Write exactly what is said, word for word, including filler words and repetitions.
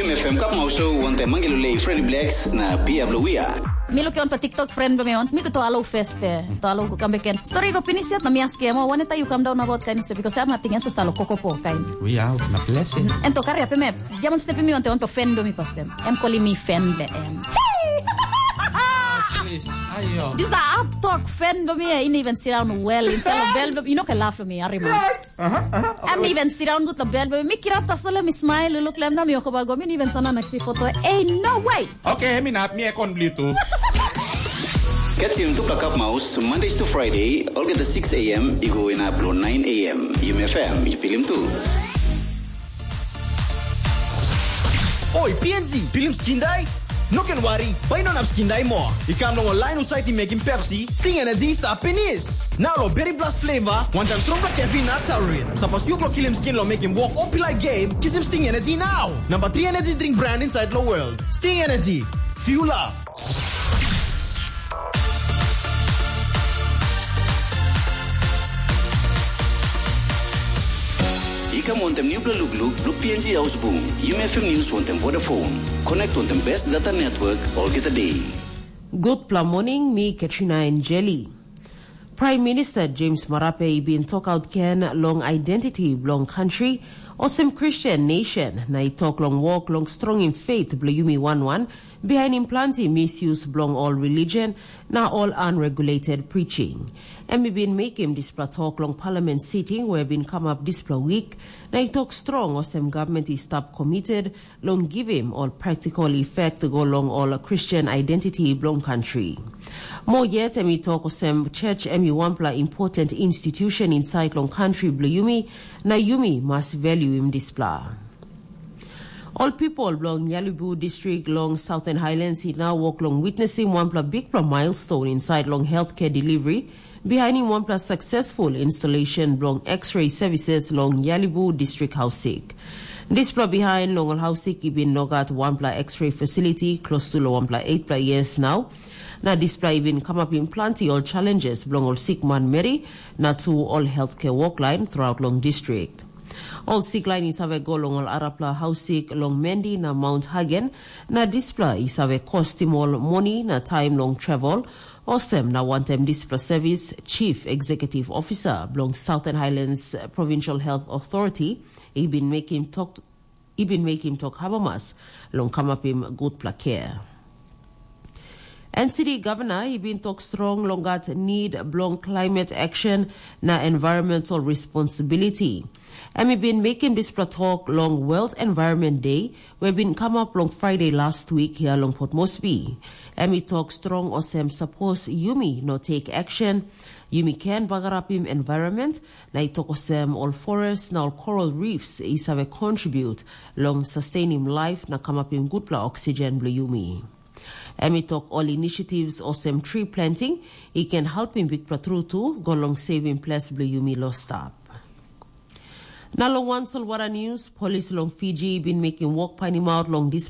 F M Cup Mauso, wantaim Mangi Lulei, Freddy Blacks na Pia Bluia. Mi luke on pa TikTok friend be mi on. Mi ko to alo feste. To alo ko kambe ken. Story ko pinis yet na mi aske mo wane ta yu kam down about kain se because I'm nothing else to alo koko po kain. We out na blessing. En to kari ape me. Jamon step mi on te on to friend be mi pastem. Em koli mi friend be em. Ayo. This the up talk friend be mi ini even sit down well instead of bell be you know ke laugh me arima. Em even sit down good na bel be mi kirap tasol em smile look lem na mi oko ba go mi even sana naksi foto. Hey, no way. Okay, mi nap mi ekon bli tu. Catch him to Cup Mouse Mondays to Friday, all get the six a m. You go in up below nine a m. You may fam, you feel him too. Oi, P N G, pilim skin dai? No ken wari, bai no nap skin dai moa. I kam long ol lain husat i mekim Pepsi, Sting Energy i stap pinis. Nau lo Berry Blast flavor, wantaim strongpela caffeine na taurine. Sapos yu go kilim skin lo mekim wok o pilai game, kisim Sting Energy nau. Number three energy drink brand inside lo world. Sting Energy. Fuel up. I kam wantem nupela lukluk bilong P N G Ausbung, Yumi F M News wantem Vodafone. Connect wantem best data network olgeta day. Gutpela morning, mi Katrina Enjeli. Prime Minister James Marape i bin tokaut gen long identity bilong country, olsem Christian nation, na i tok long wok long strongim faith bilong yumi wan wan, bihainim planti misuse bilong ol religion na ol unregulated preaching. Em i bin mekim dispela tok long parliament sitting we bin kamap dispela wik, na i tok strong olsem gavment i stap committed long givim ol practical effect go long ol Christian identity bilong country. Mo yet em i tok olsem church em i wanpela important institution inside long country bilong yumi, na yumi mas valuim dispela. Ol pipol bilong Yalibu distrik long Southern Highlands i nau wok long witnesim wanpela bikpela milestone insait long healthcare delivery, bihainim wanpela successful installation bilong X-ray services long Yalibu distrik hausik. Dispela bihain long ol hausik i bin nogat wanpela X-ray facility klostu long wanpela eightpela years nau. Na dispela i bin kamapim planti ol challenges bilong ol sik manmeri na tu ol healthcare woklain throughout long distrik. Ol siklain i save go long ol arapela hausik long Mendi na Mount Hagen, na dispela i save kostim ol moni na taim long travel. Olsem na wantaim dispela sevis, Chief Executive Officer bilong Southern Highlands Provincial Health Authority i bin mekim tok i bin mekim tok amamas long kamapim gutpela kea. N C D Governor i bin tok strong long gat need bilong climate action na environmental responsibility. Em i bin mekim dispela tok long World Environment Day, we bin kamap long Friday last week hia long Port Moresby. Em i tok strong olsem sapos yumi no take action, yumi ken bagarapim environment, na i tok olsem ol forest na ol coral reefs i save contribute long sustainim life na kamapim gutpela oxygen bilong yumi. Em i tok ol initiatives olsem tree planting i ken helpim bikpela tru tu go long saving ples bilong yumi lo stap. Na long wan solwara news, polis long Fiji i bin mekim wok painimaut long dis